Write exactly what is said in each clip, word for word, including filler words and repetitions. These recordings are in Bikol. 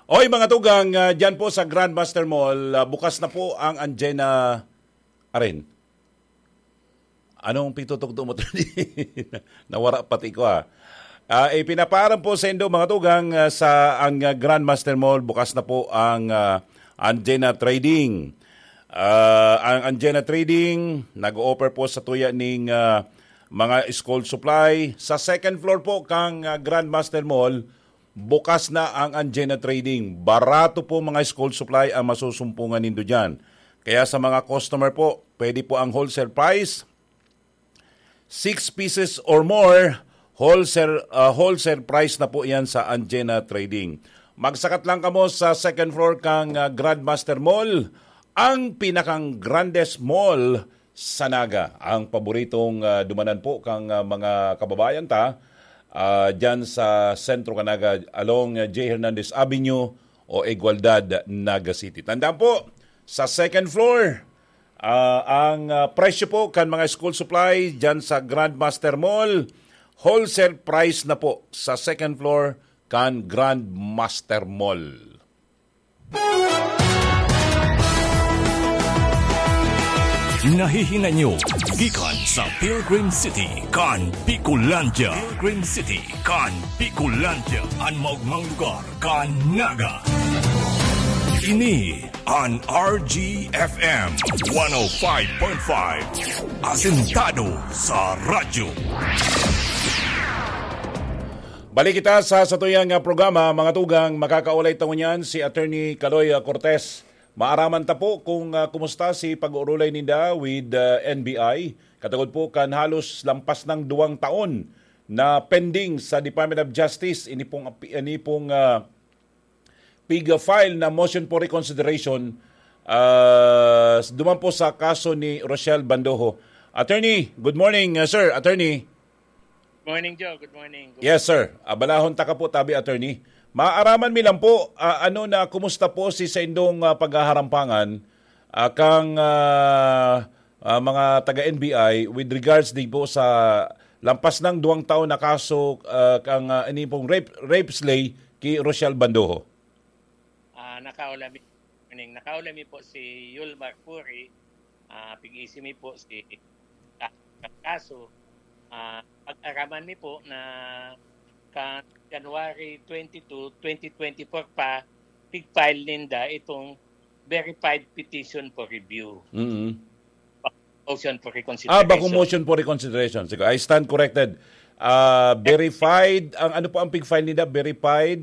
Oy, mga tugang, ah, dyan po sa Grandmaster Mall, ah, bukas na po ang Anjena Aren. Anong pitutugtog mo? Nawara pati ko, ah. Ah, ipinapaaram po sa indo, mga tugang, ah, sa ang, ah, Grandmaster Mall, bukas na po ang, ah, Anjena Trading. Ah, ang Anjena Trading nag-o-offer po sa tuya ning, ah, mga school supply. Sa second floor po kang, ah, Grandmaster Mall, bukas na ang Anjena Trading. Barato po mga school supply ang masusumpungan nindo dyan. Kaya sa mga customer po, pwede po ang wholesale price, six pieces or more, wholesale, ah, wholesale price na po yan sa Anjena Trading. Magsakat lang kamo sa second floor kang, ah, Grandmaster Mall, ang pinakang grandest mall sa Naga. Ang paboritong, ah, dumanan po kang, ah, mga kababayan ta, ah, dyan sa sentro kan Naga, along, ah, J Hernandez Avenue o Igualdad, Naga City. Tandaan po, sa second floor, ah, ang, ah, presyo po kan mga school supply dyan sa Grandmaster Mall, wholesale price na po sa second floor kan Grandmaster Mall. Nahihinanyo gikan sa Pilgrim City kan Bicolandia. Pilgrim City kan Bicolandia, an maogmang lugar kan Naga. Ini an R G F M one oh five point five, asentado sa radyo. Balik kita sa satuyang, ah, programa, mga tugang. Makakaulay ta ngunyan si Attorney Kaloy, ah, Cortez. Maaraman ta po kung, ah, kumusta si pag-uurulay ninda with, ah, N B I. Katagod po kan halos lampas ng duwang taon na pending sa Department of Justice, ini pong api-, ini pong, ah, pig-file na motion for reconsideration, ah, duman po sa kaso ni Rochelle Bandoho. Attorney, good morning, ah, sir. Attorney. Morning, Joe. Good morning. Good Yes, sir. Abalahon taka po, tabi, attorney. Maaraman mi lang po, ah, ano na, kumusta po si saindong, ah, paghaharampangan, ah, kang, ah, ah, mga taga N B I with regards din po sa lampas ng duwang taon na kaso, ah, kang, ah, ini pong rape, rape slay ki Rochelle Bandoho? Ah, nakaulami, morning. Nakaulami po si Yulmar Puri, ah, pig-isi mi po si ka-, kaso, ah, pag-araman mi po na ka January twenty-two, twenty twenty-four pa, pig-file ninda itong verified petition for review. Mm-hmm. Motion for reconsideration. Ah, bakong motion for reconsideration. Sige, I stand corrected. Ah, verified, ang ano po ang pig-file nila? Verified?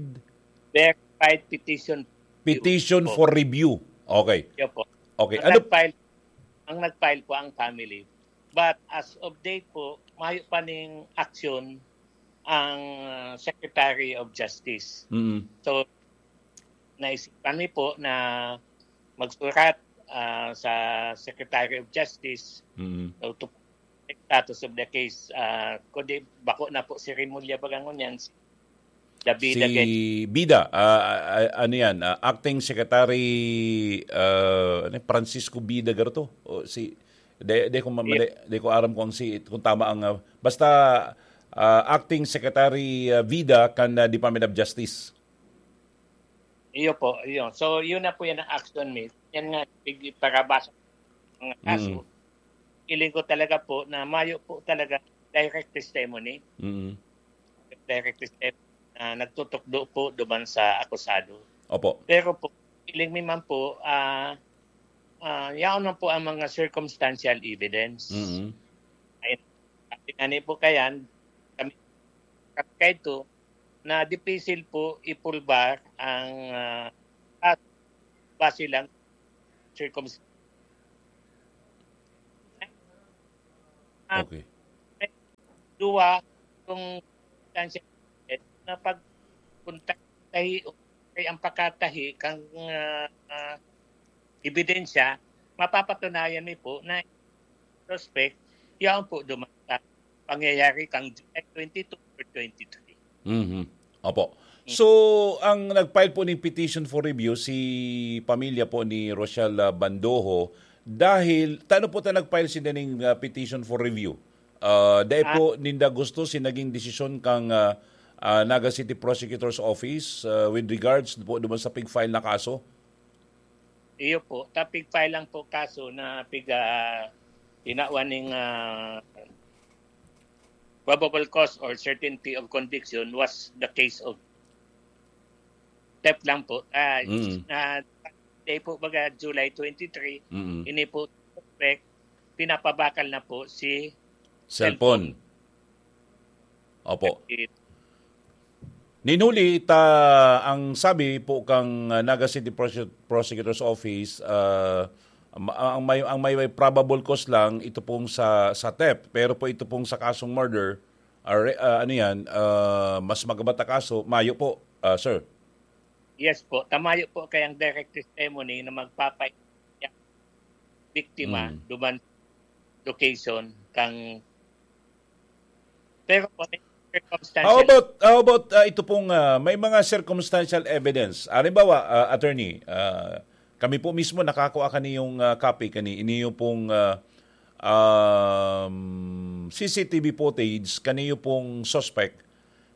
Verified petition. Petition for review. Okay. Yun po. Okay. Ang ano? Nag-file, ang nag-file po ang family. But as of date po, mayo pa ning action ang uh, Secretary of Justice. Mm-hmm. So, naisipan mi po na magsurat uh, sa Secretary of Justice mm-hmm. to status of the case. Uh, kundi bako na po si Remulla bagangon yan, si Davida. Si Bida, uh, ano yan, uh, Acting Secretary uh, ano, Francisco Bida Garto? O si, de, de, kung, yeah. de, de ko aram kung, si, kung tama ang... Uh, basta uh, Acting Secretary uh, Vida kan uh, Department of Justice. Iyo po, iyo. So, yun na po yan ang action mi. Yan nga, parabasa mga kaso. Mm. Feeling ko talaga po na mayo po talaga direct testimony. Mm. Direct testimony na nagtutukdo po duman sa akusado. Opo. Pero po, feeling mi man po, ah, uh, uh, yaon man po ang mga circumstantial evidence. Mm. Ay, sabi nga ni po kayan, kami, kami kaito, na dipisil po ipulbar ang uh, base lang circumstances. Okay. Duwa, kung na pag tahi o kay ang pakatahi kang uh, uh, ebidensya, mapapatunayan mi po na suspect, yan po duman sa pangyayari kang July twenty-two or twenty-three. Mm-hmm. Opo. So, ang nag-file po ng petition for review, si pamilya po ni Rochelle uh, Bandoho, dahil, tano po ta nag-file si daning uh, petition for review? Uh, dahil ah. po, ninda gusto si naging desisyon kang uh, ah, Naga City Prosecutor's Office, ah, with regards po duman sa pig-file na kaso? Iyo po, ta pig-file lang po kaso na pig, ah, tinawan ning, ah, probable cause or certainty of conviction was the case of theft lang po. Ah, Mm. na day po baga July twenty-three, Mm. ini po suspect, pinapabakal na po si Cellphone. Opo. Ninuli ta ang sabi po kang, ah, Naga City Prose-, Prosecutor's Office, ah, ma-, ang may, ang may, may probable cause lang ito pong sa, sa theft, pero po ito pong sa kasong murder, ah, re-, ah, ano yan, ah, mas magabat na kaso, mayo po, ah, sir. Yes po, tamayo po kay ang direct testimony na magpapay biktima Mm. duman location kang, pero po may circumstantial How about, how about, ah, ito pong, ah, may mga circumstantial evidence? Halimbawa, ah, attorney, ah, kami po mismo nakakua kaniyong, ah, copy kani, iniyo pong, ah, um, C C T V footage kaniyo pong suspect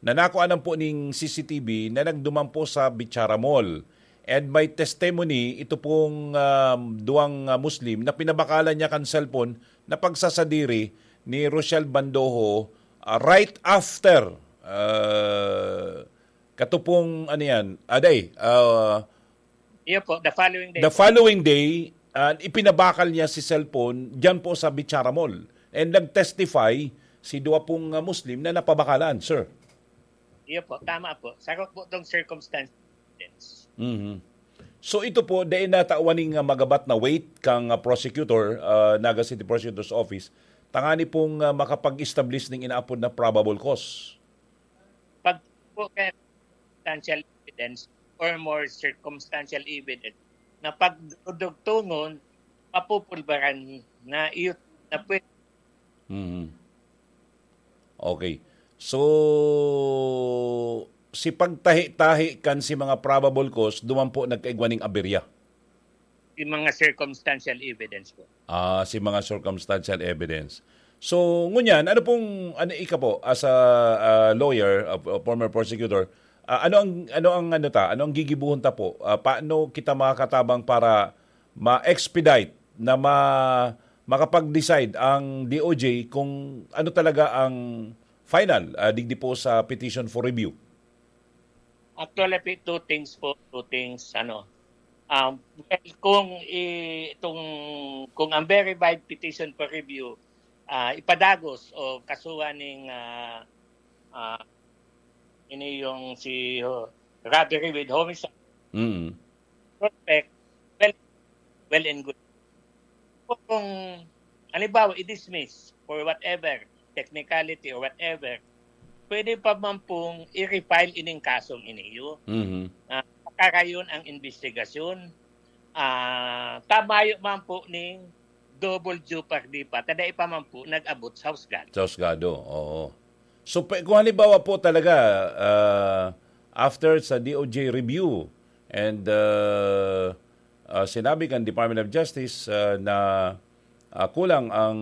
na nakuanan po ning C C T V na nagduman po sa Bichara Mall. And may testimony ito pong, um, duwang, ah, Muslim na pinabakalan niya kan cellphone na pagsasadiri ni Rochelle Bandoho, ah, right after, ah, katupong, ano yan, aday, ah, Iyo po, the following day the po. Following day, ah, ipinabakal niya si cellphone diyan po sa Bichara Mall. And nag-testify si duwa pong, ah, Muslim na napabakalan, sir. Iyo po, tama po. Sakop po itong circumstance. Mhm. So ito po, dai natawan ning, ah, magabat na weight kang, ah, prosecutor, ah, Naga City Prosecutor's Office, tangani pong, ah, makapag-establish ning inaapod na probable cause. Pag po kay circumstantial evidence or more circumstantial evidence na pagdudugtungon, mapupulbaran na iyo na pwede. Mhm. Okay. So, si pagtahi-tahi kan si mga probable cause, duman po nagkaigwa ning aberya. Yung mga circumstantial evidence po. Ah, si mga circumstantial evidence. So, ngunyan, ano pong, ano, ika po, as a, ah, lawyer, a, a former prosecutor, ah, ano ang, ano ang, ano ta, ano ang gigibuhon ta po? Ah, paano kita makakatabang para ma-expedite na ma-, makapag-decide ang D O J kung ano talaga ang final, ah, digdi po sa petition for review? Actually, pi-, two things po, two things, ano. Um, well, kung i-, itong, kung ang verified petition for review, ah, ipadagos o kasuhan ning, ah, ah, ini yung si, oh, robbery with homicide, Mm. suspect, well, well and good. Kung, halimbawa, i-dismiss for whatever, technicality or whatever, pwede pa man pong i-refile ining kasong iniyo. Mhm. Ah, pakarayon ang investigasyon. Ah, tamayo man po ning double jeopardy pa, ta dai pa man po nag-abot sa husgado. Sa husgado, oo. So, pe-, kung halimbawa po talaga, ah, after sa D O J review and, ah, ah, sinabi kan Department of Justice, ah, na, ah, kulang ang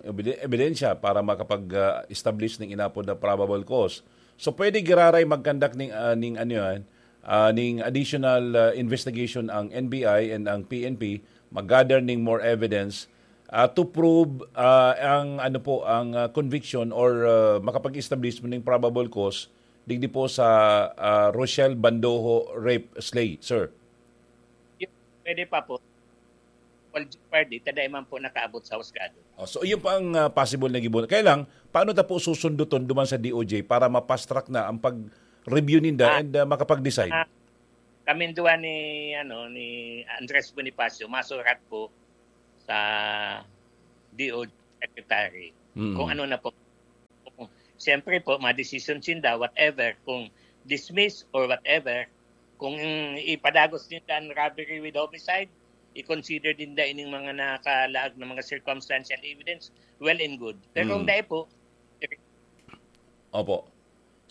ebide-, ebidensya para makapag, ah, establish ning inapod na probable cause. So, pwede giraray mag-conduct ning, ah, ning ano yan, ah, ning additional, ah, investigation ang N B I and ang P N P, mag-gather ning more evidence, ah, to prove, ah, ang ano po, ang, ah, conviction or, ah, makapag-establish mo ning probable cause digdi po sa, ah, Rochelle Bandoho rape slay, sir. Pwede pa po. Double jeopardy, ta dai man po nakaabot sa husgado. Oh, so, iyon pa ang, ah, possible na gibuhat. Kaya lang, paano ta po susunduton duman sa D O J para ma-fast track na ang pag-review ninda Ah. and, ah, makapag-decide? Ah, kami duwa ni, ano, ni Andres Bonifacio, masurat po sa D O J secretary. Mm. Kung ano na po. Siyempre po, ma-decision sinda, whatever, kung dismiss or whatever, kung ipadagos ninda ang robbery with homicide, i-consider ninda ining mga nakalaag na mga circumstantial evidence, well and good. Pero kung Mm. dai po, Opo.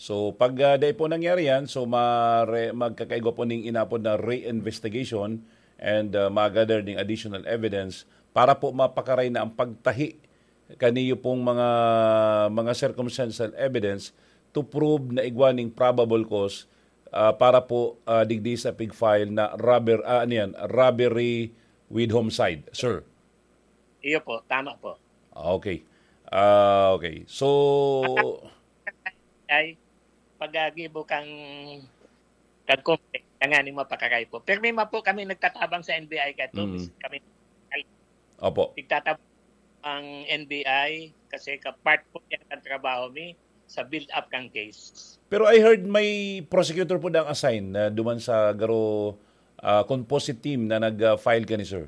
So, pag, ah, dai po nangyari yan, so mare-, magkakaigwa po ning inapod na re-investigation and, ah, ma-gather ning additional evidence para po mapakaray na ang pagtahi kaniyo pong mga, mga circumstantial evidence to prove na igwa ning probable cause, ah, para po, ah, digdi sa pig-file na robber-, ah, ano yan, robbery with homicide, sir? Iyo po, tama po. Ah, okay. Ah, okay. So, Ay, pag-agibo kang, kang complaint, tanganing mapakaray po. Pero may po kami nagtatabang sa N B I kahit Mm. kami Opo. Nagtatab-, ang N B I, kasi ka-, part po yan ang trabaho mi sa build-up kang case. Pero I heard may prosecutor po na assign na duman sa garo, ah, composite team na nag-, ah, file kani, sir.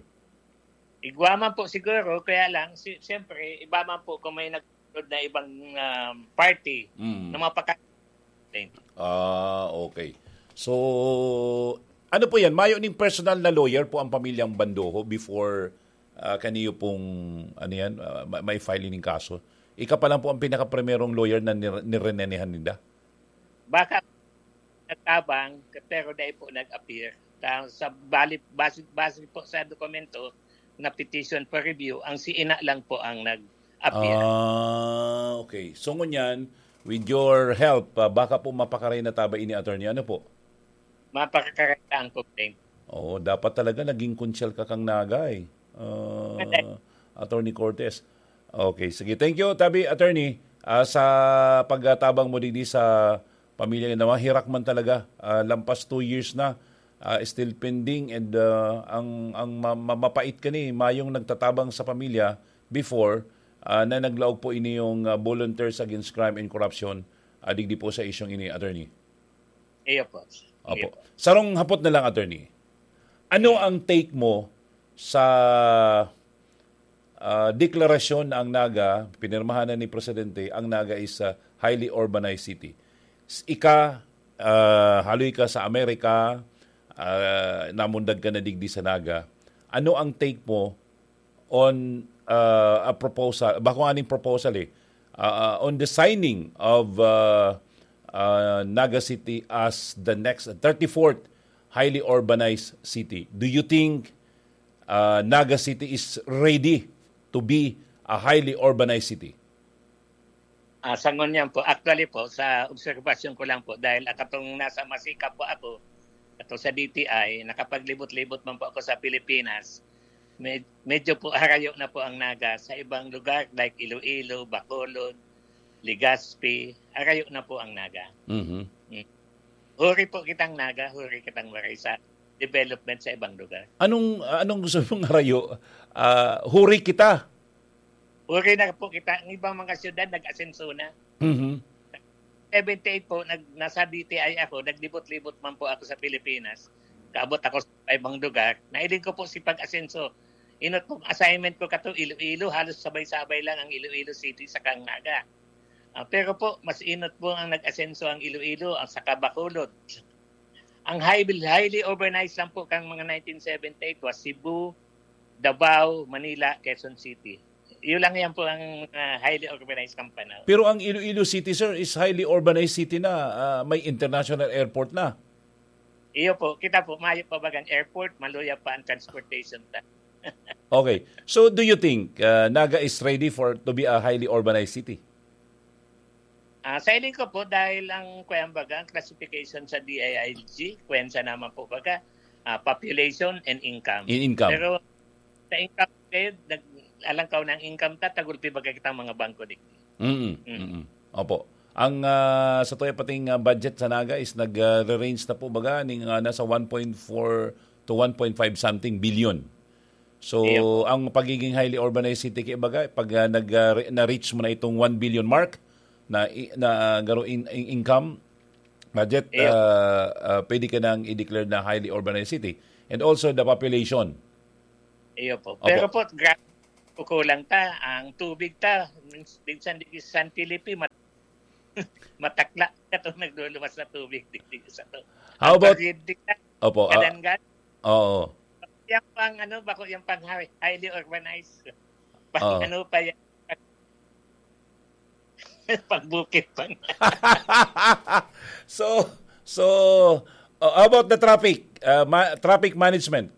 Igwa man po siguro, kaya lang, si-, siyempre, iba man po kung may nag-, na ibang, um, party Mm. na mapaka-, Ah, okay. So, ano po yan? Mayo ning personal na lawyer po ang pamilyang Bandoho before, ah, kaniyo pong, ano yan, ah, ma-, may filing ning kaso? Ika pa lang po ang pinakaprimerong lawyer na nir-, nirenehan ninda? Baka nagtabang, pero dai po nag-appear. Ta-, sa bali, base, base po sa dokumento na petition for review, ang si Ina lang po ang nag-appear. Ah, okay. So, ngunyan, with your help, ah, baka po mapakaray na ta ba ini, attorney? Ano po? Mapakaray na ang complaint. Oo, dapat talaga naging konsyal ka kang Naga, eh. Ah, Correct. Attorney Cortez. Okay, sige. Thank you, tabi, attorney, ah, sa pagtabang mo digdi sa pamilya na mahirak man talaga. Ah, lampas two years na, ah, still pending, and, ah, ang, ang ma-, ma-, mapait kani, mayong nagtatabang sa pamilya before, ah, na naglaog po ini yung, ah, Volunteers Against Crime and Corruption, ah, digdi po sa isyong ini, attorney. Iyo po. Opo. Iyo po. Sarong hapot na lang, attorney. Ano Hmm. ang take mo sa, ah, deklarasyon na ang Naga, pinirmahan na ni Presidente, ang Naga is a highly urbanized city? S-, ika, ah, haloy ka sa Amerika, ah, namundag ka na digdi sa Naga. Ano ang take mo on, uh, a proposal, bako nga ning proposal eh, uh, uh, on the signing of, uh, uh, Naga City as the next thirty-fourth highly urbanized city. Do you think, uh, Naga City is ready to be a highly urbanized city? Ah, sa ngunyan po, actually po, sa obserbasyon ko lang po, dahil katong nasa Masica po ako, ato sa D T I, nakapaglibot-libot man po ako sa Pilipinas, med-, medyo po harayo na po ang Naga sa ibang lugar, like Iloilo, Bacolod, Legazpi, harayo na po ang Naga. Mhm. Mm. Huri po kitang Naga, huri kitang Waray sa development sa ibang lugar. Anong, anong gusto mong harayo? Ah, huri kita. Huri na po kita. Ang ibang mga syudad, nag-asenso na. Mhm. Seventy-eight po, nag-, nasa D T I ako, naglibot-libot man po ako sa Pilipinas. Kaabot ako sa ibang lugar. Nahiling ko po si pag-asenso. Inot pong assignment ko kato, Iloilo, halos sabay-sabay lang ang Iloilo City sa Naga. Ah, pero po, mas inot po ang nag-asenso ang Iloilo, ang saka Bacolod. Ang highly, highly urbanized lang po kang mga nineteen seventy-eight was Cebu, Davao, Manila, Quezon City. Yun lang yan po ang, ah, highly urbanized kang panahon. Pero ang Iloilo City, sir, is highly urbanized city na, ah, may international airport na. Iyo po, kita po, mayo pa bagang airport, maluya pa ang transportation ta. Okay. So, do you think, ah, Naga is ready for to be a highly urbanized city? Ah, sa hiling ko po, dahil ang, kuwan baga, ang classification sa D I I G, kuwan siya naman po baga, ah, population and income. In income. Pero sa income, eh, nag-, alangkaw ng income ta, tagulpi baga kitang mga bangko digdi. Mm, Mm. mm. Opo. Ang, ah, sa tuya pating, ah, budget sa Naga is nag, ah, re-range na po baga ning, ah, nasa one point four to one point five something billion. So, Iyo po. ang pagiging highly urbanized city, kaya baga, pag, ah, nag, ah, re-, na-reach mo na itong one billion mark na i-, na, ah, garo in-, in-, income, budget, Iyo. ah, ah, pwede ka nang i-declare na highly urbanized city. And also the population. Iyo po. Opo. Pero po, gra-, kukulang ta. Ang tubig ta, mins-, minsan di San Felipe, mat-, matakla ka itong nagluluwas na tubig digdi sa to. How Ang about, pagdikta, opo, ah, kadangan. Oo. Yan pang ano, bako yung pang high-, highly urbanized. Pang Oo. ano pa yan? Pang bukid pang So, so, uh, how about the traffic? Uh, ma-, traffic management?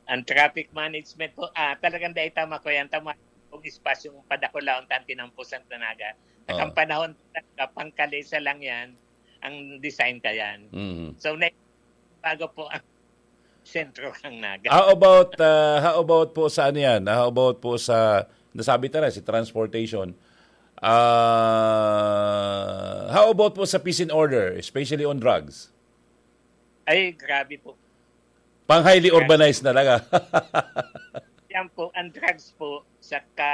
Ang traffic management po, ah, talagang dahil tama ko yan, tama. Kung espasyong padakulaon, tan tinampusan na Naga. At ang Oo. panahon talaga, pangkalesa lang yan, ang design ka yan. Mhm. So, na, bago po ang sentro kang Naga. How about uh, how about po sa ano yan? How about po sa, nasabi ta na, si transportation. Ah, how about po sa peace and order, especially on drugs? Ay, grabe po. Pang highly urbanized na talaga. Yan po, ang drugs po, saka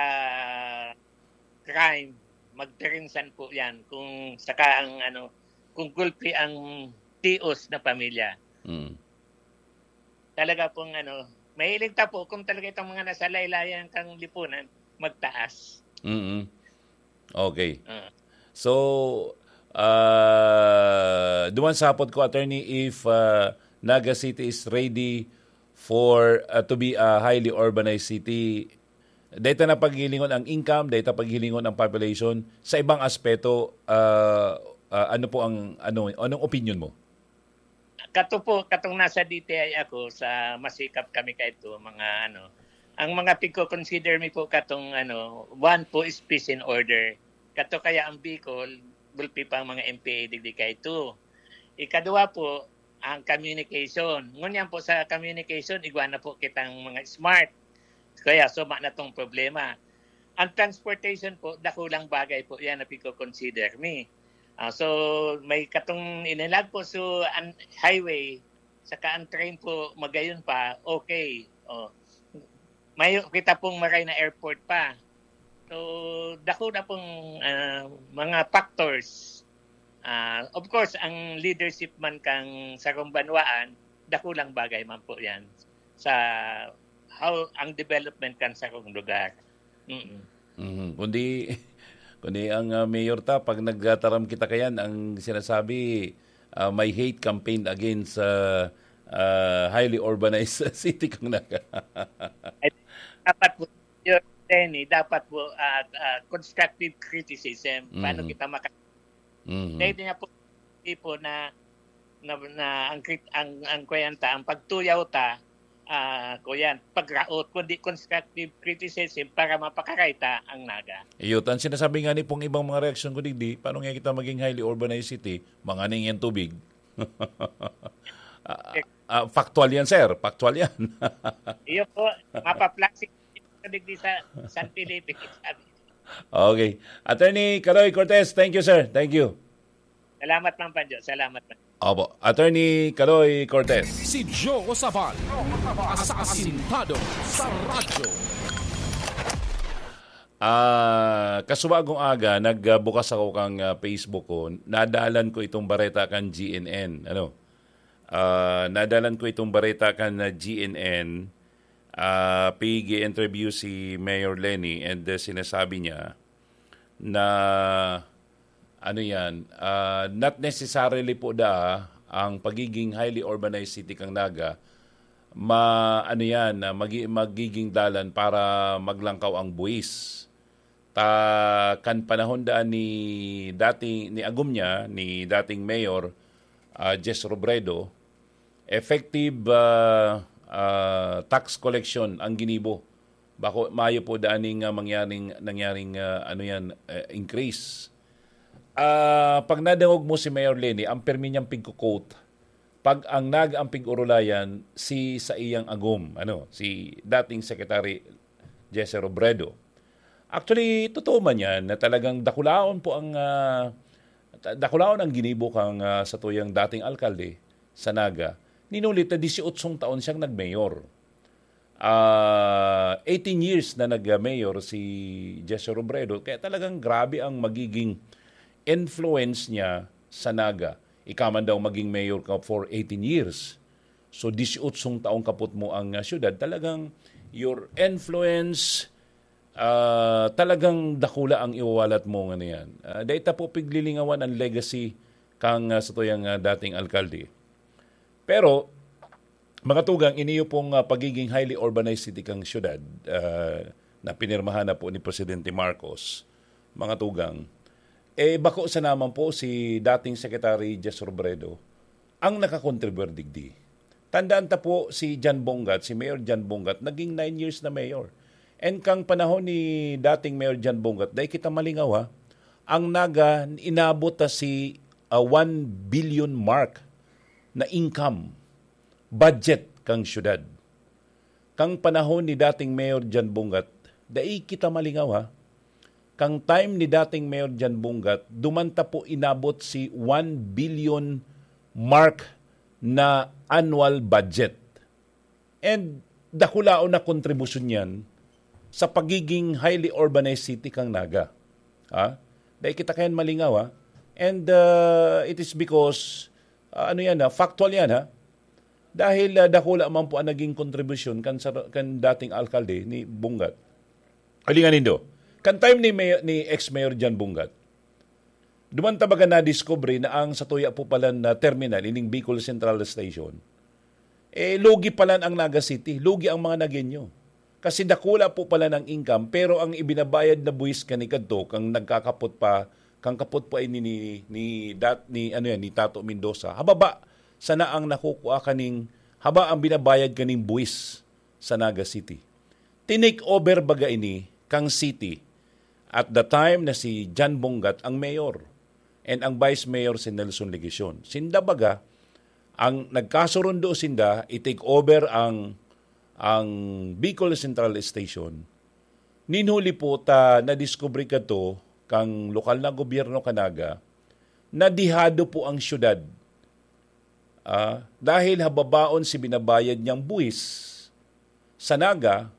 crime, magpirinsan po yan. Kung saka ang ano, kung gulpi ang tios na pamilya. Mm. Talaga pong ano, mahilig ta po kung talaga itong mga nasa laylayan kang lipunan, magtaas. Mm. Okay. Ah. So, uh, duman sa hapot ko, attorney, if uh, Naga City is ready for uh, to be a highly urbanized city, data na paghilingon ang income, data paghilingon ang population, sa ibang aspeto, uh, uh, ano po ang ano anong opinion mo? Kato po, katong nasa D T I ako, sa masikap kami kaito, mga ano, ang mga pigko-consider mi po katong ano, one po is peace and order. Kato kaya ang Bicol, gulpi pa ang mga M P A digdi kaito. Ikaduha po, ang communication. Ngunyan po sa communication, igwa na po kitang mga smart. Kaya suma na tong problema. Ang transportation po, dakulang bagay po yan na pigko-consider mi. Ah, so, may katong inilag po so ang highway, saka ang train po, magayon pa, okay. Oh. May kita pong maray na airport pa. So, dako na pong ah, mga factors. Ah, of course, ang leadership man kang sarong banwaan, dakulang bagay man po yan sa how ang development kan sarong lugar. Mm. Mhm. Kundi kundi ang uh, mayor ta, pag nagtaram kita kayan, ang sinasabi, uh, may hate campaign against uh, uh, highly urbanized city kang Naga. Dapat po, Sir Lenny, dapat po ah, ah, constructive criticism. Paano Mhm. kita maka- Mhm. Pwede nga po, tipo na, na, na ang, crit- ang, ang kuyan ta, ang pagtuyaw ta, ah kuyan, pagraot, kundi constructive criticism para mapakaray ta ang Naga. Iyo, ang sinasabi nga ni pong ibang mga reaksyon ko digdi, paano nga kita maging highly urbanized city, mga ning yan tubig? Ah, ah, factual yan, sir. Factual yan. Iyo po, mapaplastic digdi sa San Felipe. Sabi. Okay. Attorney Kaloy Cortez, thank you, sir. Thank you. Salamat, Mang Panjo. Salamat, Mang. Opo. Attorney Kaloy Cortez. Si Joe Sabal, asasintado sa radyo. Ah, kasubagong aga, nagbukas ako kang ah, Facebook ko. Nadalan ko itong bareta kan G N N. Ano? Ah, nadalan ko itong bareta kan ah, G N N. Ah, pig-interview si Mayor Lenny and ah, sinasabi niya na ano yan, ah, not necessarily po da ang pagiging highly urbanized city kang Naga ma ano yan, ah, magi- magiging dalan para maglangkaw ang buwis. Ta kan panahon daan ni dating ni agom niya ni dating mayor ah, Jess Robredo, effective ah, ah, tax collection ang ginibo. Bako mayo po daan ning ah, mangyaring nangyaring ah, ano yan eh, increase. Ah, pag nadangog mo si Mayor Lenny, ang permi niyang pigko-quote, pag ang nag ang pig-urulayan si sa iyang agom, ano, si dating Secretary Jesse Robredo. Actually, totoo man yan na talagang dakulaon po ang ah, ta- dakulaon ang ginibo kang ah, sa tuyang dating alkalde sa Naga. Ninulit na disyotso taon siyang nagmayor. Ah, eighteen years na nag-mayor si Jesse Robredo, kaya talagang grabe ang magiging influence niya sa Naga. Ika man daw maging mayor ka for eighteen years. So, disyotso taong kapot mo ang ah, syudad. Talagang your influence, ah, talagang dakula ang iwawalat mo ngayon. Ah, dahil ta po piglilingawan ang legacy kang ah, sa tuyang ah, dating alkalde. Pero, mga tugang, iniyo pong ah, pagiging highly urbanized city kang syudad ah, na pinirmahan na po ni Presidente Marcos, mga tugang, eh bako sa naman po si dating Secretary Jess Robredo ang nakakontribute digdi. Tandaan ta po si John Bongat, si Mayor John Bongat, naging nine years na mayor. And kang panahon ni dating Mayor John Bongat, dahil kita malingaw ha, Ang Naga, inabot ta si, ah, one billion mark na income, budget kan syudad. Kan panahon ni dating Mayor John Bungat, dai kita malingaw, ha. Kan time ni dating Mayor John Bungat, duman ta po inabot si one billion mark na annual budget. And dakulaon na kontribusyon yan sa pagiging highly urbanized city kan Naga. Ha? Dai kita kayan malingaw, ha? And, uh, it is because, uh, ano yan, ha? Factual yan, ha? Dahil, uh, dakula man po ang naging kontribusyon kan, sa, kan dating alkalde ni Bungat. Alingan nindo, kan time ni Mayor, ni ex-Mayor John Bungat, duman ta baga nadiskubre na ang satuya po pala na terminal, ining Bicol Central Station, eh, lugi pala ang Naga City, lugi ang mga Nagueño. Kasi dakula po pala ng income, pero ang ibinabayad na buwis kani kadto, kang nagkakapot pa, kang kapot pa ini ni, ni, dat, ni, ano yan, ni Tato Mendoza, hababa sana ang nakukua kaning, haba ang binabayad kaning buwis sa Naga City. Tinake over baga ini kang city at the time na si John Bungat ang mayor and ang vice mayor si Nelson Legacion. Sinda baga, ang nagkasurundo sinda, i-take over ang, ang Bicol Central Station. Nin huli po ta nadiskubre kadto kang lokal na gobyerno kan Naga na dihado po ang syudad. Ah, dahil hababaon si binabayad niyang buwis sa Naga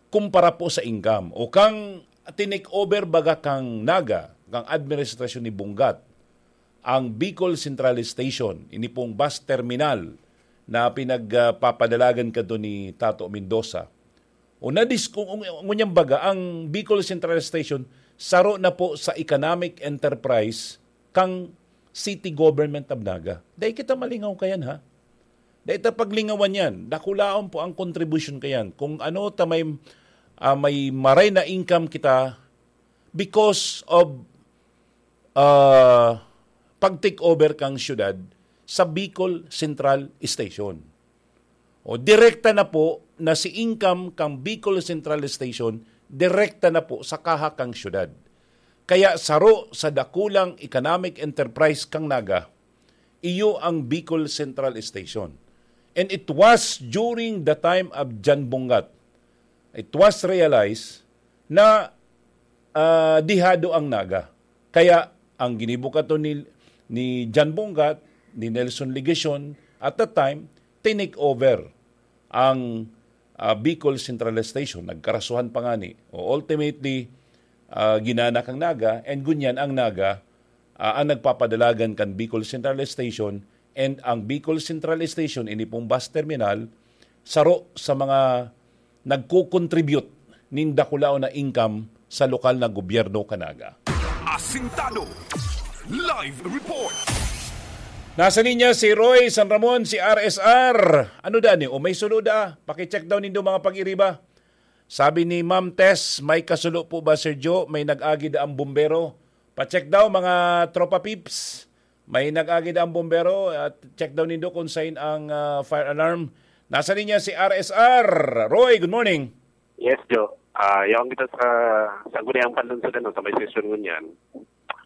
kumpara po sa income. O kang tinake over baga kang Naga, kang administrasyon ni Bungat, ang Bicol Central Station, ini pong bus terminal na pinagpapadalagan kadto ni Tato Mendoza. O nadis-, kung, kung, ngunyan baga, ang Bicol Central Station, saro na po sa economic enterprise kang city government of Naga. Dai kita malingaw kayan, ha? Dai ta paglingawan yan. Dakulaon po ang kontribusyon kayan. Kung ano ta may, ah, may maray na income kita because of, ah, pag-take over kang syudad sa Bicol Central Station. O, direkta na po na si income kang Bicol Central Station, direkta na po sa kaha kang syudad. Kaya saro sa dakulang economic enterprise kang Naga, iyo ang Bicol Central Station. And it was during the time of John Bungat, it was realized na, ah, dihado ang Naga. Kaya ang ginibo kato ni, ni John Bungat, ni Nelson Legacion, at that time, tinake over ang, ah, Bicol Central Station. Nagkarasuhan pa ngani. O ultimately, ah, ginana kang Naga, and ngunyan ang Naga, ah, ang nagpapadalagan kan Bicol Central Station, and ang Bicol Central Station, ini pong bus terminal, saro sa mga nagko-contribute nin dakulaon na income sa lokal na gobyerno kan Naga. Asintado. Live report. Nasa linya si Roy San Ramon, si R S R. Ano da ni? O may sulo da? Pakicheck daw nindo mga pag-iriba. Sabi ni Ma'am Tess, "May kasulo po ba, Sir Joe? May nag-agi da ang bumbero." Pa-check daw, mga tropa peeps. May nag-agi da ang bumbero at check daw nindo kung sign ang, ah, fire alarm. Nasa linya si R S R. Roy, good morning. Yes, Joe. Ah, yaon kita sa Sangguniang Panlungsod, ano, sa may session ngunyan.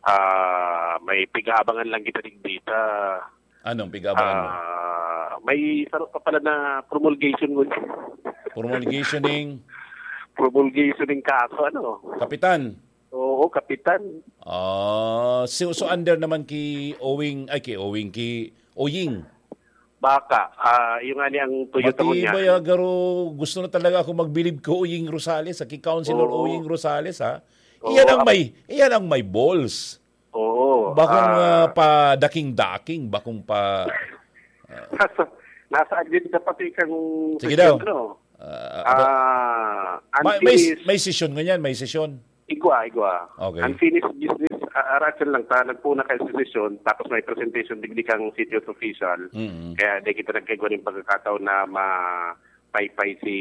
Ah, may pig-aabangan lang kita digdi ta. Anong pig-aabangan mo? Ah, may saro pa pala na promulgation ngunyan. Promulgation ning? Promulgation ning kaso, ano? Kapitan? Oo, kapitan. Ah, so, so under naman ki Owing, ay, ki Owing, ki Oying. Baka, ah, yung nga ni ang tuyo Matibay, ah, garo, gusto na talaga ako magbilib ko Oying Rosales, ah, ki Councilor Oo. Oying Rosales, ha? Oo, Iyan ang ap- may, iyan ang may balls. Oo, Bakong, ah, ah, pa daking-daking, bakong pa, ah, nasa, nasa agenda pati kang Sige presidente, daw. no? Ah, Ah, may, may, unfinished may session ngunyan, may session. Igwa, igwa. Okay. Unfinished business, ah, aratyan lang ta, nagpuna kay session, tapos may presentation digdi kang city official. Mm. Kaya di kita nagkaigwa ng pagkakataon na mapaypay si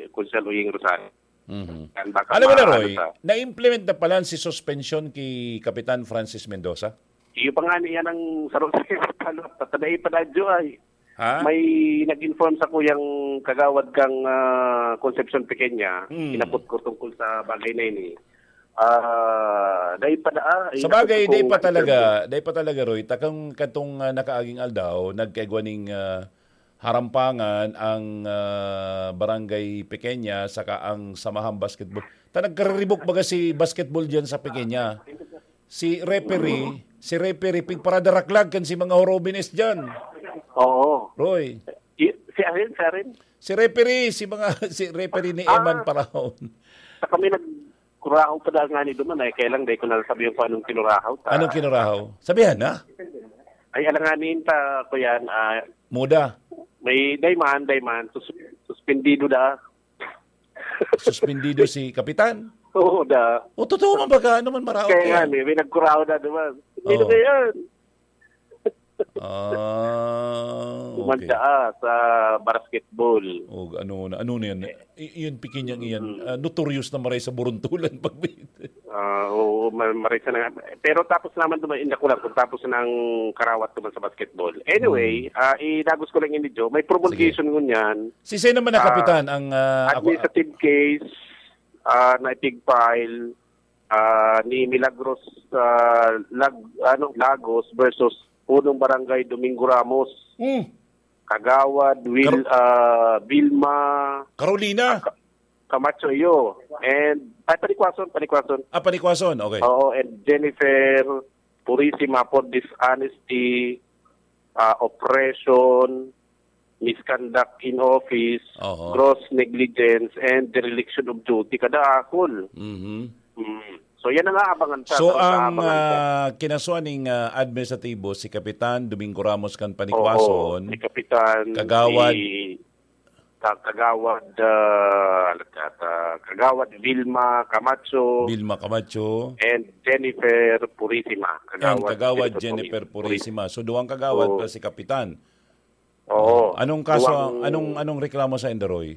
Konsehal Uying Rosales. Mhm. Yan, baka Alam mo na, maano Roy, sa na-implement na pala si suspension ki Kapitan Francis Mendoza? Iyo pa nga niya nang sarong sa follow-up, tatadai pa na, Joe, ay. Ha? May nag-inform sa kuyang kagawad kang, ah, Concepcion Pequeña, Mm. inabot ko tungkol sa bagay na ini. Ah, dai pa na, ah, Sa bagay, dai pa talaga, dai pa talaga, Roy. Takang katong, ah, nakaaging aldaw, nagkaigwa ning, ah, harampangan ang, ah, Barangay Pequeña saka ang Samahang Basketball. Ta nagkariribok baga si basketball diyan sa Pequeña. Si referee, si referee pigparadaraklag kan si mga horobines diyan. Oo. Roy. I-, si Aren, si Aren? Si referee, si mga, si referee ni Ah. Eman Paraon. Sa kami nagkurahaw pa dahil nga ni duman, eh. Kaya lang, di ko na sabihin kung anong kinurahaw ta. Anong kinurahaw? Sabihan na? Ay, alanganin ta, ko yan, ah, Muda. May dayman, dayman. Sus-, suspendido da. Suspendido si Kapitan? Oo, da. O, totoo man ba ka? Ano man maraot Kaya nga, yan? may, may nagkurahaw na duman. Hindi Oo. na yan. Ah, okay. Kumanta, ah, sa basketball. O, ano na, ano na yan? Eh. I-, iyan, pikin niyang iyan. Mm. Ah, notorious na maray sa buruntulan pag may Ah, oo, ma-, maray sa na nga. Pero tapos naman duman, inda ko lang kung tapos ng karawat duman sa basketball. Anyway, Mm. ah, idagos ko lang yun, Joe. May promulgation Sige. ngunyan. Si sino naman na Ah, kapitan ang, ah, ako administrative case, ah, na ipig-file, ah, ni Milagros, ah, Lag-, ano, Lagos versus Punong Barangay Domingo Ramos. Mm. Kagawad Will, Kar- ah, Vilma Carolina. Ka-, Camacho iyo. And, ay, Panikwason, Panikwason. Ah, Panikwason, okay. Oo, and Jennifer Purisima for dishonesty, ah, oppression, misconduct in office, Oho. gross negligence, and dereliction of duty. Kada akol. Mhm. Mm. So, yan ang aabangan sa, So, sa ang, aabangan sa ah, kinasuhan ning, ah, administratibo, si Kapitan Domingo Ramos kan Panikwason, Oo, si Kapitan, Kagawad si Ka-, Kagawad, ah, ano ka, Kagawad Vilma Camacho, Vilma Camacho. and Jennifer Purisima. And Kagawad Kagawad Jennifer Jennifer Purisima. Purisima. So, duwang kagawad Oo. plus si Kapitan. Oo. Anong kaso, Duwang anong, anong reklamo sa inda, Roy?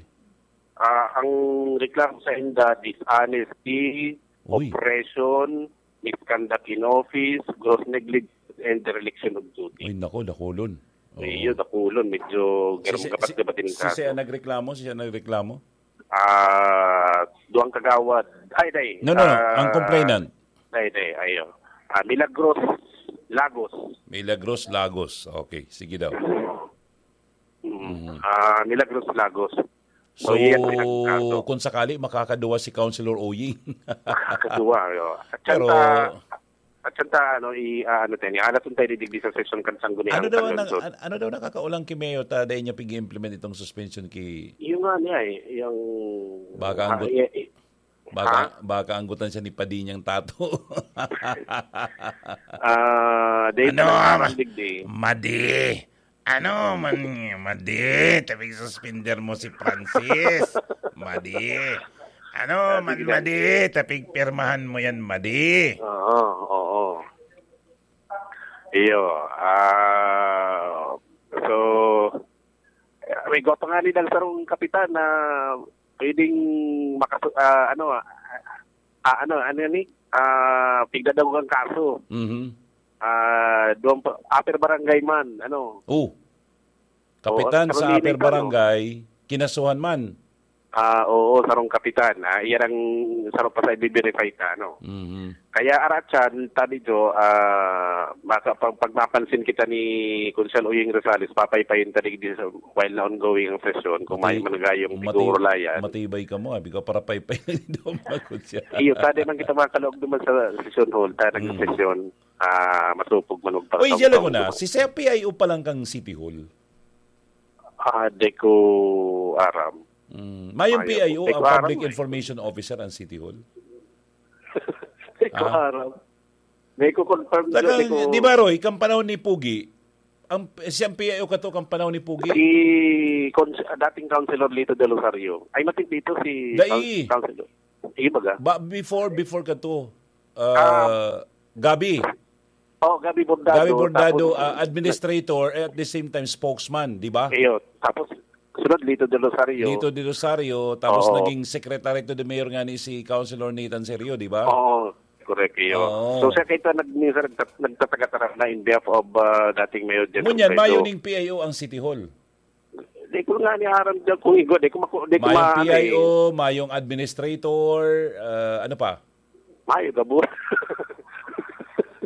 Ah, ang reklamo sa inda, dishonesty, Uy. oppression, misconduct in office, gross negligence, and dereliction of duty. Uy, nako, dakulon. Oo. Iyo, dakulon. Medyo Si, si, gabat-gabat si, din si, kaso. siya nagreklamo, siya nagreklamo? Ah, duwang kagawad. Ay, day. No, no, no. Ah, Ang complainant. Day, day, ayo. Ah, Milagros Lagos. Milagros Lagos. Okay, sige daw. Mm. Mhm. Ah, Milagros Lagos. So, So, iyan ang kaso. kung sakali, makakaduwa si Councilor Oying. Makakaduwa, yo. At Pero santa, at santa, ano, i-, ah, ano tayo, ihalaton tayo digdi sa session kan Sangguniang Ano daw ang Convention. nag-, an-, ano daw nakakaulang ki Mayor ta dahil niya pig-implement itong suspension ki Yung nga niya, eh, yung, Baka ang ah, gut-, eh, eh, baka, ha? baka anggutan siya ni Padi niyang tato. Ah, dahil Ano, talaga ma-, ang digdi. Madi? Ano man, madi, tapig suspender mo si Francis? Madi. Ano Ah, man, sige na. madi, tapig pirmahan mo yan, madi. Oo, oo. Iyo, ah, so, may gwapo nga ni Dal Sarong Kapitan na pwedeng makasu-, ah, ano, ah, ah, ano, ano ni? Ah, pigdadagogan kaso. Mhm. Ah, duwang pa, upper barangay man, ano. Oh. Oo, Kapitan sa Carolina upper ito, no? barangay, kinasuhan man. Ah, oo, sarong kapitan. Ah, iyan ang sarong pa sa i-verify ta, ano. Mhm. Kaya aratsan, tadi jo, ah, maka-, pag, pag mapansin kita ni Konsehal Uying Rosales, papaypayin ta digdi sa, while na ongoing ang sesyon, kung Mati-, may managayong mati-, siguro layan. matibay ka mo, abi ka para paypay na dito, mga konsehal. Iyo, tadi man kita mga kalog naman sa session hall, ta Mm. nagsesyon, ah, masupog man magpakataw-taw Uy, siya lang ko na, naman. si Sir P I O pa lang kang City Hall. Ah, di ko aram. Mm, mayong Mayo P I O po. Di ang ko aram Public eh. Information Officer ang City Hall. Di ko Ah. aram. Di ko confirm Saka, dyan, di ko di ba, Roy, kang panahon ni Pugi, ang, siyang P I O kato kang panahon ni Pugi? Si Cons-, dating Councilor Lito Del Rosario. Ay, matik dito si Dai. Coun-, Councilor. Sige, baga. Ba, before, before kato, ah, Ah. Gabi. Oh, Gabi Bordado, Gabi Bordado, tapos ah, administrator, eh, at the same time spokesman, di ba? Iyo, tapos sunod Lito Del Rosario. Lito Del Rosario, tapos Oo. naging secretary to the mayor nga ni si Councilor Nathan Serio, di ba? Oo, correct, iyo. Oo. So, siya kayo nag-, minsan nagtat-, nagtatagatara na in behalf of, ah, dating Mayor Jen Ngunyan, Robredo. mayo ning P I O ang City Hall. Di ko nga ni aram dyan kung igo, di ko maku-, di ko Mayong ma-, ano eh. P I O, mayong administrator, ah, ano pa? Mayo gabos.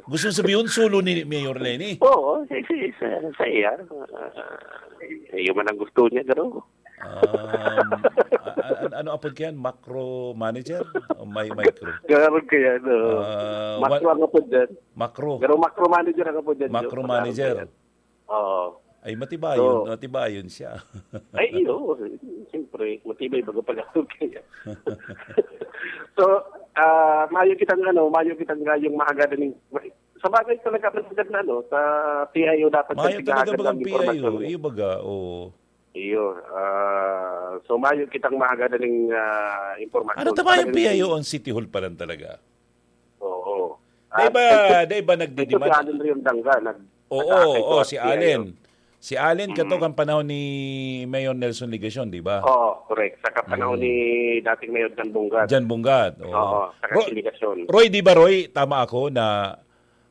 Gusto sabihin, solo ni Mayor Leni? Oo, si, si, sa, sa iya. Ah, iyo man ang gusto niya, garo. Um, a- a- ano apod kayan? Macro manager? O may micro? Garo kaya, no? Ah, Macro wa- ang apod dyan. Macro. Pero macro manager ang apod dyan, Macro Joe. Manager. Macro manager. Oo. Ay, matibayon, So, matibayon siya. Ay, iyo. Siyempre, matibay baga pala. Okay. So, ah, mayo kitang ano, mayo kitang gayong mahagadan ning, sa bagay talaga, mahagad na ano, sa P I O dapat Mayo talaga bagang P I O, impormasyon. Iyo baga, oo. Iyo, ah, so mayo kitang mahagadan ning, ah, impormasyon. Ano tama yung Talagang P I O ang City Hall pa lang talaga? Oo. Dai ba, dai ba nagdidiman? Ito si Allen Riondanga, nag-, Oo, nag-aapekto oo, at si Allen. Si Allen, Mm. kato kan panahon ni Mayor Nelson Legacion, di ba? Oo, correct. Sa kapanahon Mm. ni dating Mayor Jan Bungat. Jan Bungat, oo. Oo, sa Ro-, Legacion. Roy, di ba, Roy? Tama ako na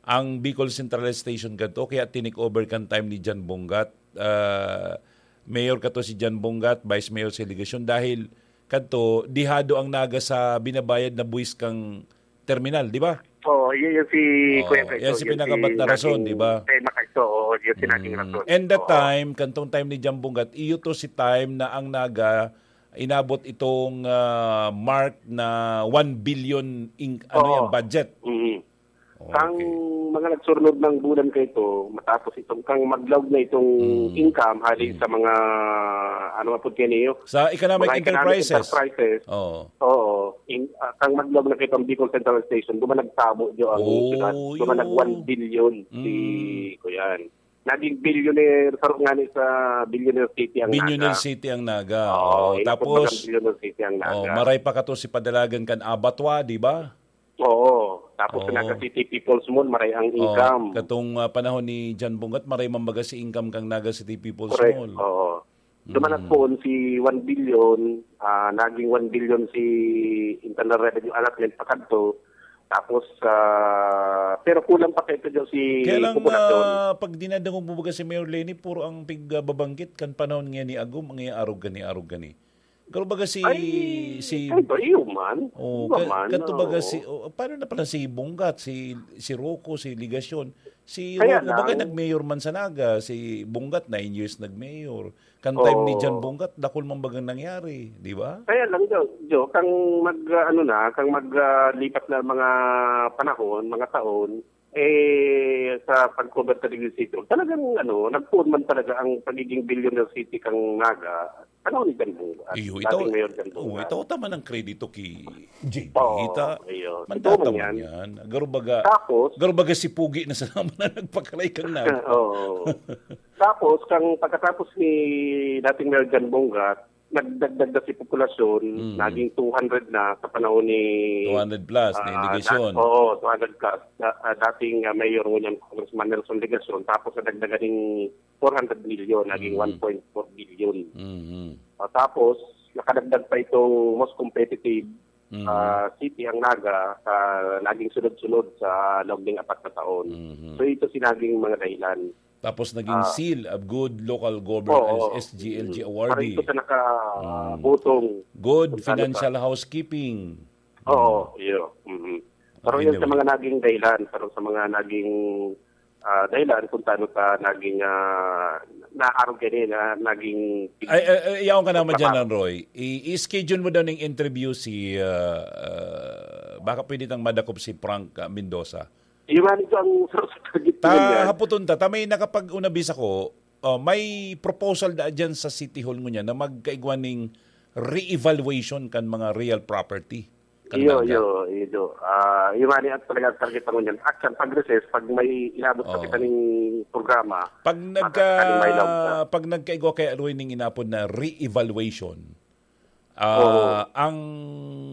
ang Bicol Central Station kato, kaya tinake over kan time ni Jan Bungat. Ah, Mayor kato si Jan Bungat, Vice Mayor si Legacion, dahil kadto, dihado ang Naga sa binabayad na buwis kang terminal, di ba? Oo, yun, yun si Oo, Kuya Kaiso, yan si yun pinakamat si na rason, naging di ba? Tema Kaiso, oo, yun si naging Mm. rason. And that Oo. time, kantong time ni Jambong Gat, iyo to si time na ang Naga inabot itong, ah, mark na one billion in, ano Oo. yan, budget. Mm. Kang Okay. mga nagsurnod ng bulan kaito, matapos itong, kang maglaog na itong Mm. income, hali Mm. sa mga, ano nga po kaniyo? Sa economic Mga economic enterprises. enterprises. Oo. Oo. In, ah, kang maglaog na kitang Bicol Central Station, duman nagtabo dyo ang Oh, syudad. Duman nag yun. one billion si Mm. Kuyan. Naging billionaire, saro nga ni sa Billionaire City ang Billionaire Naga. City ang Naga. Oo, Oo, inabot tapos, bagang Billionaire City ang Naga. oh, maray pa kato si padalagan kan abattoir, di ba? Oo. Tapos Oo. sa Naga City People's Mall, maray ang Oh, income. katong, ah, panahon ni John Bungat, maray man baga si income kang Naga City People's Correct. Mall. Oo. Duman Mm. nagpoon si one billion, ah, naging one billion si internal revenue allotment pakadto. Tapos, ah, pero kulang pa kaito dyan si Kaya lang, populasyon. ah, pag dinadangog mo baga si Mayor Leni, puro ang pig-, ah, babanggit kan panahon ngayon ni Agum, ang iya arog gani, arog gani. Pero baga si, Ay, si kahit ba, iyo man. Oh, Iba ka-, man, kanto baga oo. si, oh, paano na pala si Bungat, si, si Rocco, si Legacion? Si Kaya Rocco, baga lang. nag-mayor man sa Naga, si Bungat, nine years nag-mayor. Kan time ni Oo. John Bungat, dakul man bagang nangyari, di ba? Kaya lang, Jo, Jo, kang mag, ah, ano na, kang mag, ah, lipat na mga panahon, mga taon, eh, sa pag-cover sa Digil City, talagang, ano, nagpoon man talaga ang pagiging billionaire city kang Naga, panahon ni John Bungat, Iyo, ito, dating Mayor John oh, Bungat. ito tama ng kredito ki J P Oo, Hita. iyo. Totoo Mandata man man yan. yan. Garo baga, Tapos, garo baga si Pugi na sa naman na nagpakaray kang Naga. Oo. Tapos, kang pagkatapos ni dating Mayor John Bungat, nagdagdag na si populasyon, Mm. naging two hundred na sa panahon ni, Two hundred plus, ni ah, Legacion. dat-, oo, two hundred plus. Da-, ah, dating, ah, Mayor ngunyan, Congressman Nelson Legacion, tapos nadagdagan ning four hundred million, naging Mm. one point four billion. Mhm. Ah, tapos, nakadagdag pa itong most competitive, Mhm. ah, city ang Naga sa naging sunod-sunod sa loob ng apat na taon. Mhm. So, ito si naging mga dahilan. Tapos naging Ah. Seal of Good Local Governance, Oo. S G L G Mm. awardee. Para ito sa naka-, Mm. botong Good kung saan financial ka. housekeeping. Oo, Mm. iyo. Mhm. Pero yun sa Anyway. mga naging dahilan, pero sa mga naging, ah, dahilan kung saan ka naging, ah, naarog ka rin, na naging Ay, ay, ay, yaon ka naman dyan, trabaho. Roy. I-, i-schedule mo daw ng interview si, ah, ah, baka pwede tang madakop si Frank, ah, Mendoza. Iyo nga nito ang sa, sa target ko Ta, yan. haputon ta, ta may nakapag-unabis ako, oh, may proposal da dyan sa City Hall ngunyan na magkaigwa ning re-evaluation kan mga real property. Kan Iyo, Naga. iyo, iyo. Ah, iyo nga ni ang talaga target pa ngunyan. Actually, pag recess, pag may inabot sa Oh. kita ning programa, Pag nag, makakatanim may ah, laog na. pag nagkaigwa kaya, Roy, ning inapod na re-evaluation, ah, Oo. ang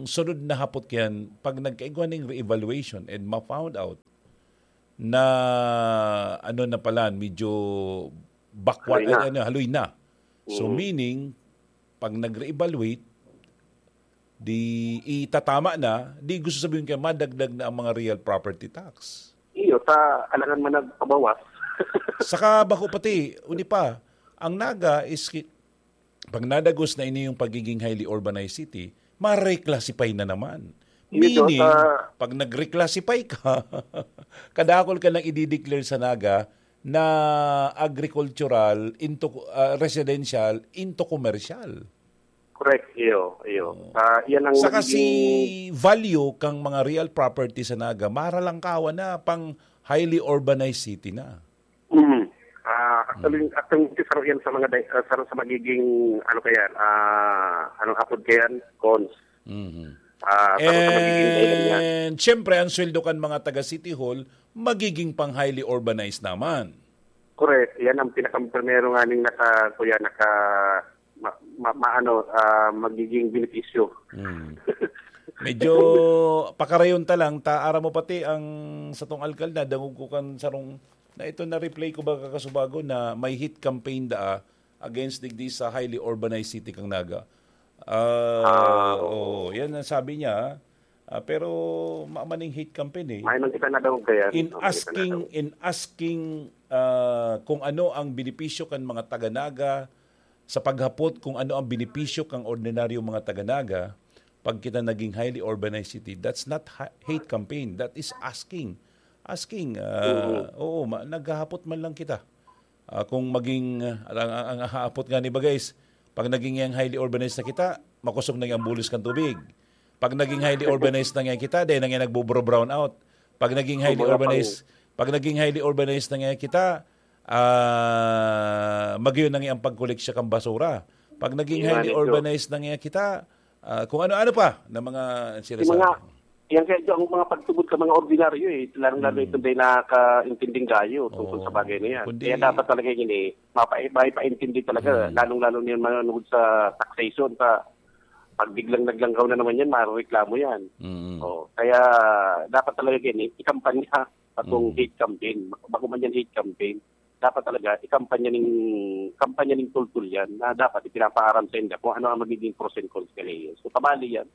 sunod na hapot yan, pag nagkaigwa ning re-evaluation and ma-found out na ano na pala, medyo bakwat, Haloy na. ano, haloy na. So, Mm. meaning, pag nag-re-evaluate, di itatama na, di gusto sabihin kaya madagdag na ang mga real property tax. Iyo, ta, alangan man nagpabawas. Saka bako pati, uni pa, ang Naga is ki-, pag nadagos na ini yung pagiging highly urbanized city, ma-reclassify na naman. Meaning, pag nag-reclassify ka, kadakol ka nang i-declare sa Naga na agricultural into, ah, residential into commercial. Correct, iyo, iyo. Oo. Ah, yan ang Saka magiging si value kang mga real property sa Naga, maralangkawan na pang highly urbanized city na. Mm. Ah, actually, Mm. actually, isa rin yan sa mga di-, ah, sa, sa magiging, ano kaya, ah, anong apod kaya, cons. Mhm. Ah, sa, sa magiging dahilan niya. And, syempre, ang sweldo kan mga taga City Hall, magiging pang highly urbanized naman. Correct. Yan ang pinakamprimero nga ning naka, kuya, naka, ma-, ma-, maano, ah, magiging benepisyo. Mm. Medyo pakarayon ta lang, ta, aram mo pati ang satong alkalde, dangog ko kan sarong, na ito na-replay ko ba kakasubago na may heat campaign daa against digdi sa highly urbanized city kang Naga. Ah, Ah, oo. oo, yan ang sabi niya. Ah, pero maamaning heat campaign eh. May man kita nadangog kaya. In Oo, may kita asking, nadangog. in asking, ah, kung ano ang benepisyo kan mga taga Naga, sa paghapot kung ano ang benepisyo kang ordinaryong mga taga Naga, pag kita naging highly urbanized city, that's not ha-, hate campaign. That is asking. Asking, ah, Oo. oo, ma-, naghahapot man lang kita. Ah, kung maging, ah, ang, ang, ang haapot nga ni bagay is, pag naging yang highly urbanized na kita, makosog na ang bulos kan tubig. Pag naging highly urbanized na nga kita, dahil na nga nagbo-brown out. Pag naging highly Kumbaga, urbanized, pag naging highly urbanized na nga kita, ah, magayon na nga ang pagkolekta kan basura. Pag naging Yun nga highly nito. urbanized na nga kita, ah, kung ano-ano pa na mga Yung sinasabi. mga, yan kaya ang mga pagtubod sa mga ordinaryo eh, lalong-lalo Mm. itong dahil nakakaintinding gayo tungkol sa Oo. bagay na yan. Kundi Kaya dapat talaga yun eh, mapa-, maipaintindi talaga, Mm. lalong-lalo na yung mga nungod sa taxation, sa pag biglang naglanggaw na naman yan, marereklamo yan. Mm. Oh, kaya dapat talaga yun eh, ikampanya pa tong Mm. hate campaign. Bako man yan hate campaign, dapat talaga ikampanya ning, kampanya ning tultol yan na dapat ipinapaaram sa inda kung ano ang magiging pros and cons kanila. So, pabali yan.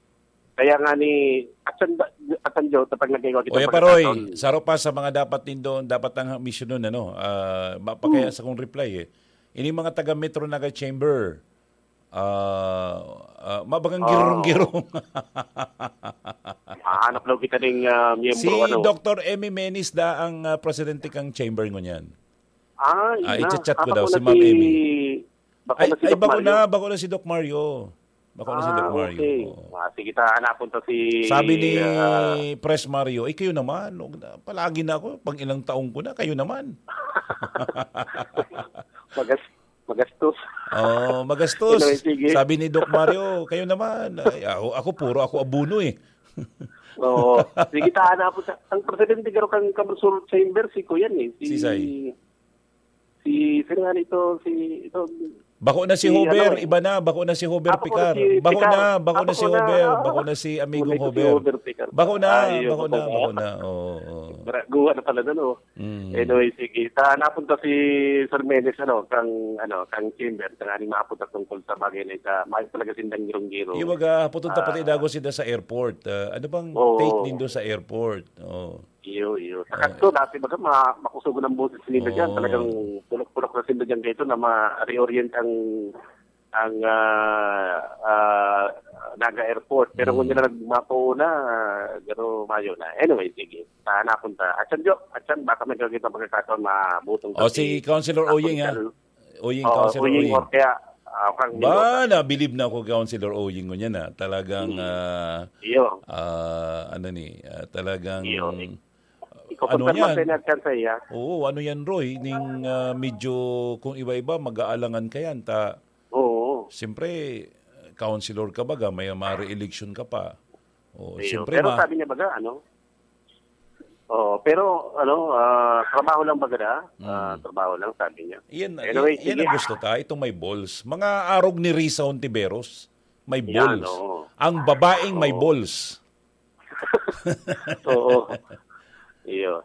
Kaya nga ni, asan ba, asan Joe, kapag nag-iwan kita Oya Paroy, pagkakataon? saro pa sa mga dapat nindo, dapat ang misyonon, ano, ah, ma-, pakaya Hmm. sa kong reply eh. Ini mga taga Metro Naga Chamber, ah, ah, mabagang Oh. girong-girong. Mahanap daw kita ning, ah, miyembro, Si ano. Doktor Emmy Menis da ang, ah, presidente kang chamber ngunyan. Ah, yun Ah, na. i-chat-chat ko Ah, daw, bako si na Ma'am si, Emmy. bako Ay, na si ay, Doc bako Mario. na, bako na si Doc Mario. Bako na si Doc Ah, Mario. okay. Oo. Ah, sige, ta, hanapon ta si, Sabi ni ah, Pres Mario, "Eh, kayo naman, huwag na, palagi na ako, pang ilang taong ko na, kayo naman." Magas-, magastos. Oo, magastos. Anyway, sige. Sabi ni Doc Mario, "Kayo naman, ay, ako, ako, puro ako abono eh." Oo. Sige, ta, hanapon ta. Ang presidente garo kan Kamsur Chamber, si Kuyan eh. Si Sisay? Si, sino nga nito? Si, ito, Bako na si si Hover, ano? iba na, bako na si Hover Ah, bako na Picar. si Bako Picar. na, bako Ah, na si bako na. Hover, Ah, bako na si Amigong bako na si Hover. Hover Picar. Bako na, Ay, bako na, bako na. bako na. Oo, oo. Gra-, guwa na pala nun, oh. Mm. Anyway, sige. Ta, napunta si Sir Menes, ano, kang, ano, kang chamber, tanganing mapunta tungkol sa bagay na ita, may talaga sindang girong-giro. Yung mga, pupunta pati Ah. dago sila sa airport. Ah, ano bang Oo. take nindo sa airport? Oo. Iyo, iyo. Sa Ah. kadto, dati baga ma-, makusog ang boses nila dyan. Oo. Talagang pulok-pulok na sila dyan dito na ma-reorient ang, ang, ah, ah, Naga Airport. Pero kung Mm. nila nagmapo na, ah, garo mayo na. Anyway, sige. Sa napunta. Atyan, Jo. Atyan, baka may gagawin pang pagkakataon, mabutong O, ka si si Councilor Oying, ha? Councilor Oying, Oo, Councilor Oying, Oying. or kaya, ah, kang Ba, Mendoza. nabilib na ako, Councilor Oying, ngunyan, ha? Talagang, Hmm. ah, Iyo. ah, ano ni, ah, talagang, Iyo. Ikaw ano pagkalma yan? sa inatyan sa iya. Oo, ano yan, Roy? Ning, ah, medyo, kung iba-iba, mag-aalangan ka yan. Ta-, Oo. siyempre, councilor ka baga, may ma-re-election ka pa. Oo, Iyo. siyempre, Pero ma- sabi niya baga, ano? Oo, pero, ano, ah, trabaho lang baga na? Ah, Mm. trabaho lang, sabi niya. Yan, Anyway, yan, yan sige. ang gusto ta, itong may balls. Mga arog ni Risa Hontiveros, may Yan, balls. oo. Ang babaeng may Oo. balls. Oo. Iyo.